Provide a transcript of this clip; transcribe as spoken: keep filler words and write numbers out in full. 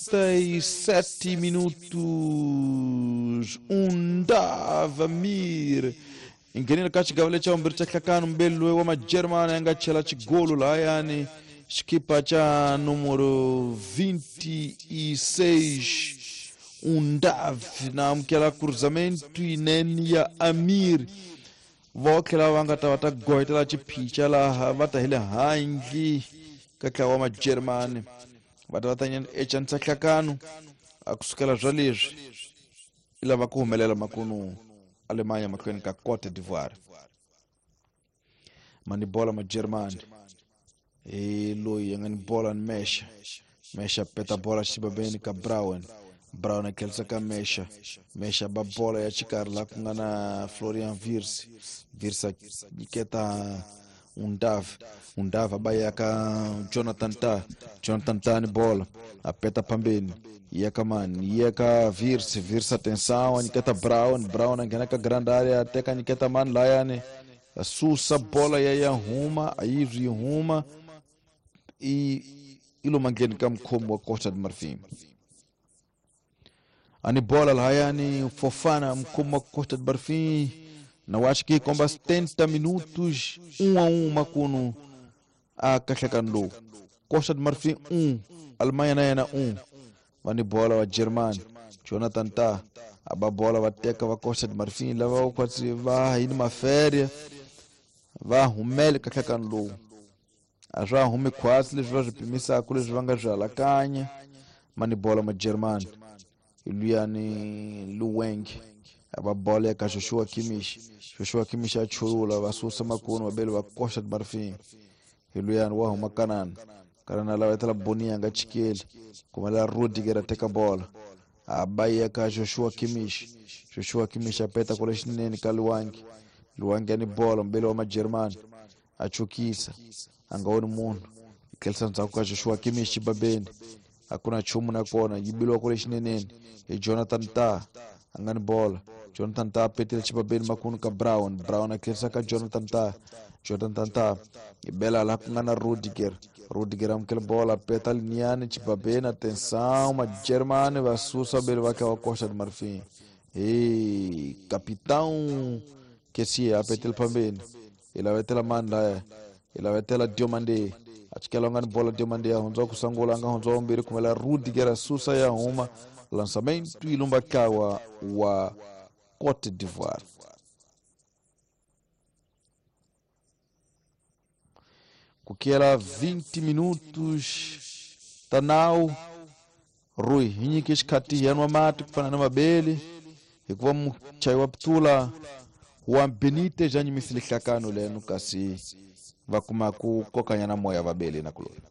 sessenta e sete minutos. Undav Amir inghenile ka xigava lexa vumbirhi xa nhlakano mbeli loyi wa majeremani a nga chela xigolo lahayani xikipa xa numero vinte e seis Undav na amukela cruzamento yinene ya Amir. Vo tlhela va nga ta va ta goyetela xiphica laha va ta hi le handle ka ntlawa wa majeremani va ta va ta ecanisa nhlakano a kusukela swa leswi i lava ku humelela makunu Alemanha mahlweni ka Cote d'Ivoire. Mani bola majeremani hi loyi a nga ni bola ni Mesha. Mesha peta bola xibabeni ka Brown. Brown a tlherisa ka Mesha. Mesha ba bola ya xikarhi laha ku nga na Florian Wirtz. Wirtz a nyiketa Undav. Undav a ba ya ka Jonathan Tah. Jonathan Tah ni bola a peta phambeni ya ka mani ya ka Wirtz. Wirtz atenção a nyiketa Brown. Brown a nghena ka grand area a teka nyiketa mani layani a susa bola ya ya huma a yi yi huma i i lomu ngheni ka mukhomi wa Costa de Marfim. Ani bola lahayani Fofana mukhomi wa Costa de Marfim na acho que com setenta minutos um a um makunu a kahlekano lowu. Costa de Marfim um, Alemanha na yena um. Vani bola wa Germany Jonathan Tah a ba bola va teka va Costa de Marfim lava kwatsi va yini maferia va humele kahlekano lowu. A swa humi khwatsi leswi va swi pimisaka leswi va nga swi halakanya. Mani bola ma Germany luyani Luweng a ba bola ka Joshua Kimmich. Joshua Kimmich a chulula va susa makunu vabeli va Costa de Marfim. Hi luyani wa huma Kanana. Kanana lava etela Bonia nga chikeli kumela Rudiger a teka bola a ba ya ka Joshua Kimmich. Joshua Kimmich a peta kule xinene ka Luwangi. Luwangi a ni bola mbeli wa majeremani a chukisa a nga voni munhu yi tlherisa ndzhaku ka Joshua Kimmich xibabeni a ku na nchumu na kona yi biliwa kule xineneni hi Jonathan Tah a nga ni bola. Jonathan Tah a petile xibabeni makunu ka Brown. Brown a tlherisa ka Jonathan Tah. Jonathan Tah yi bela laha ku nga na Rudiger. Rudiger amukela bola peta liniyani xibabeni atenção majeremani va susa vabeli va kha va Costa de Marfim. Hi capitão Kessie a petile phambeni yi lavetela mani laya yi lavetela Diomande a chikela nga ni bola Diomande ya hundza ku sungula nga hundza vumbirhi kumela Rudiger a susa ya huma lançamento yi lumba ntlawa wa Cote d'Ivoire. Ku kela vinte minutos ta nawu Rui hi nyike xikhathi hi yanwa mati ku fana na mabeli hikuva muchayi wa putula wa Benitez a nyimisile nhlakano leno kasi va kuma ku kokanyana moya vabeli na kuloni.